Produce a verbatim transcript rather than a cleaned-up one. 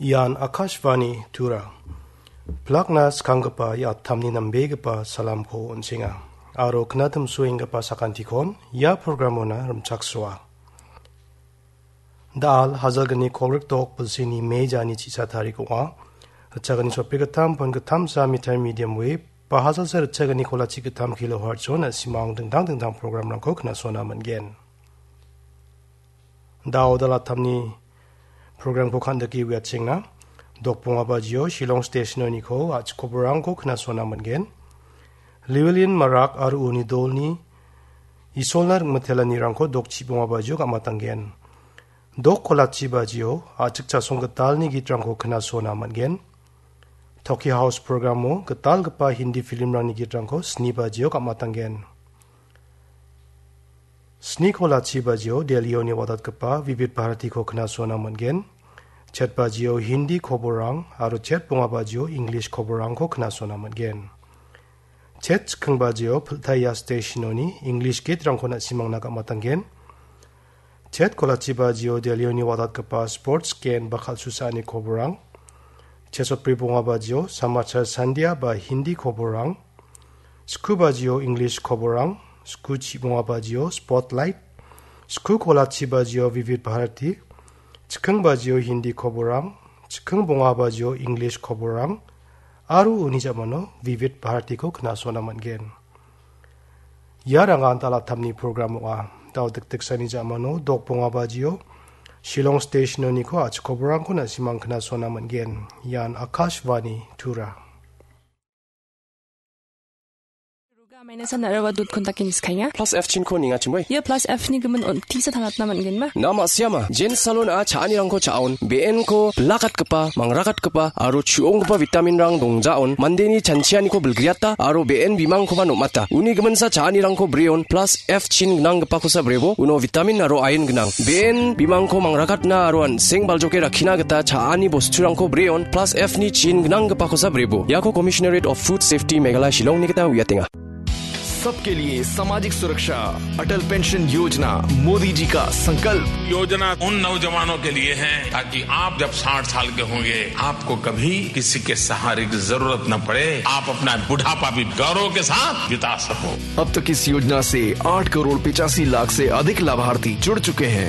Ian Akashvani Tura. Plakna skanggipa ia attamni nambegipa salamko on·senga. Aro knatimsoenggipa sakantikon ia programona rimchaksoa. Da·al hajalgni kolgrikdok bilsini mejani chisa tarik ong·a. Ritchagni sotbri gittam pon gittamsa meter medium wave ba hajalsa ritchagni kolachi gittam kilohertz-o na·simang dingtang dingtang programrangko knasona man·gen. Da·o da·al attamni programko kandike uiatchengna. Dokbonga bajio Shillong Stationoniko a·chik koborangko knasona man·gen. Llewellyn Marak aro uni dolni Isolna ringmitelanirangko dokchibonga bajio gam·atanggen. Dok kolachi bajio a·chik chasong gitalni gitrangko knasona man·gen. Toki House programo gitalgipa Hindi filmrangni gitrangko sni bajio gam·atanggen. Sni kolachi bajio Delhioni watatgipa Vivid Bharatiko knasona man·gen. Chet bajio Hindi koborang aro chet bonga bajio English koborangko knasona man·gen. Chet chikking bajio Piltaya Stationoni English gitrangko na·simangna gam·atanggen. Chet kolachi bajio Delhioni watatgipa sports gen ba kal·susaani koborang. Chet sotbri bonga bajio Samachar Sandhya ba Hindi koborang. Sku bajio English koborang. Sku chibonga bajio Spotlight. Sku kolachi bajio Vivid Bharati. Chikking bajio Hindi koborang. Chikking bonga bajio English koborang. Aro uni ja·mano Vivid Bharatiko knasona man·gen. Ia rangan da·al attamni program ong·a. Da·o dikdiksani ja·mano dokbonga bajio Shillong Stationoniko a·chik koborangko na·simang knasona man·gen. Ian Akashvani Tura. Roga maina san araba dot kontaki niskainga. Plus F chinko ningachimoi. Ia plus F ni gimin on tisa tangatna man·genma. Na ma·siama, Jen Salon a cha·anirangko cha·on, be·enko bilakatgipa, mangrakatgipa, aro chu·onggipa vitaminrang dongjaon, mandeni chanchianiko bilgriata, aro be·en bimangkoba nom·ata. Uni giminsa cha·anirangko breon, plus F chin gnanggipakosa brebo, uno vitamin aro iron gnang. Be·en bimangko mangrakatna aro an·seng baljoke rakkina gita cha·ani bosturangko breon, plus F ni chin gnanggipakosa brebo. Iako Commissionerate of Food Safety Meghalaya Shillongni gita uiatenga. सबके लिए सामाजिक सुरक्षा, अटल पेंशन योजना, मोदी जी का संकल्प। योजना उन नौजवानों के लिए है, ताकि आप जब साठ साल के होंगे, आपको कभी किसी के सहारे की जरूरत न पड़े, आप अपना बुढ़ापा भी गौरव के साथ बिता सको। अब तक इस योजना से आठ करोड़ पचासी लाख से अधिक लाभार्थी जुड़ चुके हैं।